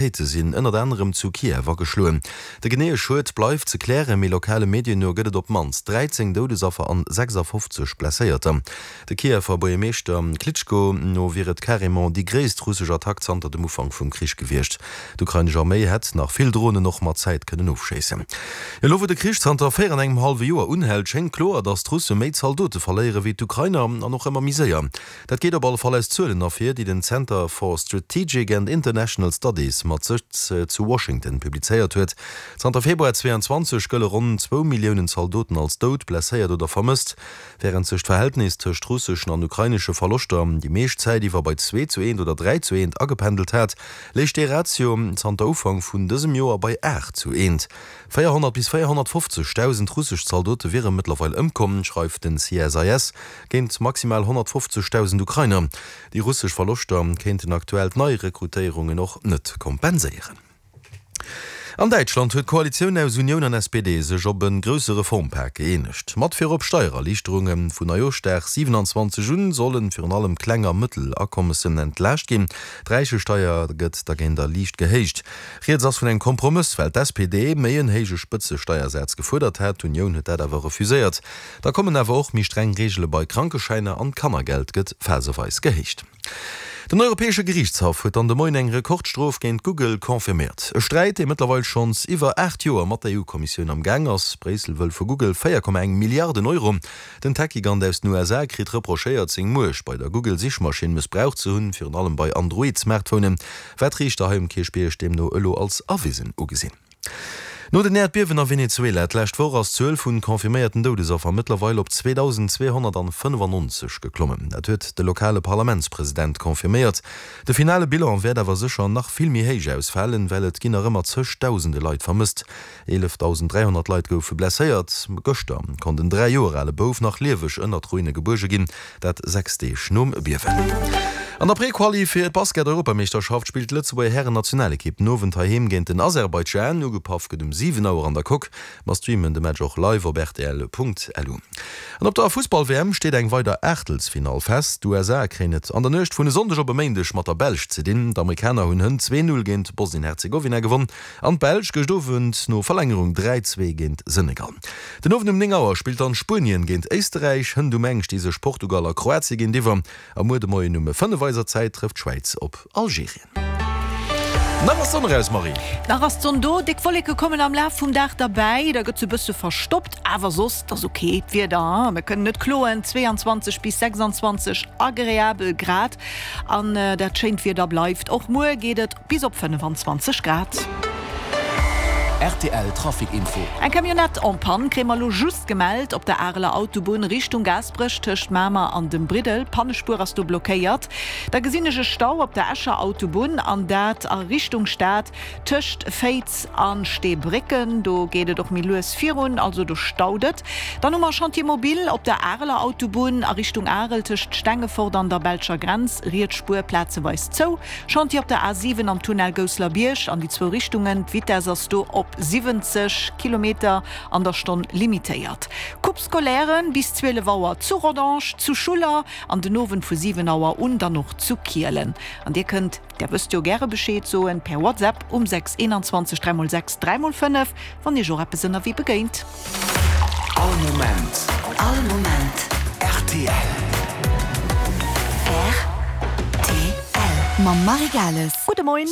Rakéite sinn ënnert anerem zu Kiew ageschloen. De geneeë Schued bleift ze klären, mee lokale Medien no gëtt et op d'mannst 13 Doudesaffer an 56 Blesséierter. De Kiewer Buergermeeschter Klitschko no wier et carrément déi gréisst russesch Attack zanter dem Ufank vum Krich gewiescht. D'ukrainesch Arméi hätt nach vill Dronen och mat Zäit kënnen ofschéissen. Elo wou de Krich zanter 4 an engem hallwe Joer unhält, schéngt kloer, datt d'Russe méi Zaldote verléiere wéi d'Ukrainer an och ëmmer méi séier. Dat geet op alle Fall aus Zuelen ervir, déi den Center for Strategic and International Studies mat Sëtz zu Washington publizéiert huet. Zanter Februar 22 gëlle ronn zwou Milliounen Zaldoten als dout, blesséiert oder vermësst. Wärend sech d'Verhältnis tëscht russeschen an ukrainesche Verloschter déi meescht Zäit iwwer bei zwee zu eent oder 3 zu eent agependelt hat, léich dee Ratio zanter Ufank vun dësem Joer bei 8 zu eent. 400 bis 450.000 russesch Zaldote wiere mëttlerweil ëmkomm, schreift den CSIS. Géint maximal 150.000 Ukrainer. Déi russesch Verloschter kéinten aktuell d'Neirekrutéierungen och net kompenséieren. An Däitschland huet d'Koalitioun aus Unioun an SPD sech op e grousse Reformpak gëeenegt. Mat virop Steiererliichterunge. Vun Neijooschdag 27 un solle virun allem kleng a mëttel Akommessen entlaascht ginn. D'Räichesteier gëtt dergéint a liicht gehéicht. Rieds ass vun engem Kompromëss, well d'SPD méi en héije Spëtzesteiersaz gefuerdert hat. D'Unioun huet dat awer refuséiert. Da kommen awer och méi streng Reegele bei Krankeschäiner an d'Kannergeld gëtt phaseweis gehéicht. Den Europäesche Geriichtshaff huet dann de Moien eng Rekordstrof géint Google confirméiert. E Sträit, dee mëttlerweil schonns iwwer 8 Joer mat der EU-Kommissioun am Gaang ass. Bréissel wëll vu Google 4,1 Milliarden Euro. Den Tech-Gigant aus den USA kritt reprochéiert, seng Muecht bei der Google-Sichmaschinn mëssbraucht ze hunn, virun allem bei Android-Smartphonen, wat d'Riichter hei um Kierchbierg deemno elo als erwisen ugesinn. No den Äerdbiewen a Venezuela d'lescht Woch ass d'Zuel vun confirméierten Doudesaffer mëttlerweil op 2.295 geklommen. Dat huet de lokale Parlamentspresident confirméiert. De finale Bilan wäert awer sécher nach vill méi héich ausfalen, well et ginn nach ëmmer zeg Dausende Leit vermësst. 11.300 Leit goufe blesséiert. Gëschter konnt en 3 Joer ale Bouf nach lieweg ënnert Ruine gebuerge ginn, dat 6 Deeg nom Biewen. An der Pre-Quali fir d'Basket-Europameeschterschaft spillt d'Lëtzebuerger Hären-Nationalekipp den Owend heiheem géint den Aserbaidschan. Ugepaff gëtt um 7 Auer an der Coque. Mer streamen de Match och live op rtl.lu. An op der Fussball-WM steet eng weider Aachtelsfinall fest. D'USA kréien et an der Nuecht vun e Sonndeg op e Méindeg mat der Belsch ze dinn. D'Amerikaner hunn hënt 2, 0 géint Bosnien-Herzegowina gewonn. An d'Belsch gëscht Owend no Verlängerung 3, 2 géint Senegal. Den Owend um 9 Auer spillt dann Spuenien géint Éisterräich, hënt um eng sti sech Portugal a Kroatien géintiwwer a muer de Moien um 5 eiser Zäit trëfft d'Schwäiz op Algerien. Nach ass d'Sonn eraus, Marie. Nach ass d'Sonn do, déck Wolleke kommen am Laf vum Dag derbäi, da gëtt se bësse verstoppt, awer soss ass ok d'Wieder, mir kënnen net kloen, 22 bis 26 agreabel Grad an dat schéint Wieder bleift. Och muer geet et Bis op 25 Grad. Rtl Trafic Info. Eng Camionnette en panne kréie mer elo just gemellt op der Areler Autobunn Richtung Gaasperech tëscht Mamer an dem Briddel. D'Pannespuer ass do blockéiert. Da gesinn ech e Stau op der Escher Autobunn an dat a Richtung Stad tëscht Féiz a Steebrécken. Do geet et och méi lues virun, also do staut et. Dann hu mer e Chantier mobile op der Areler Autobunn a Richtung Arel tëscht Stengefort an der belscher Grenz, riets Spuer plazeweis zou. Chantier op der A 7 am Tunnel Gousselerbierg an déi zwou Richtungen. D'Vitess ass do op 70 Kilometer an der Stonn limitéiert. Coupe scolaire bis 12 Auer zu Rodange, zu Schuller an den Owend vu 7 Auer un dann och zu Kielen. An dir kënnt, där wësst jo, gäre Bescheed soen per WhatsApp um 6 21 3 x 6 3 x 5, wann iech och eppes ënnerwee begéint. All Moment. All Moment. Rtl. Rtl. Mam Marie Gales. Gudde Moien.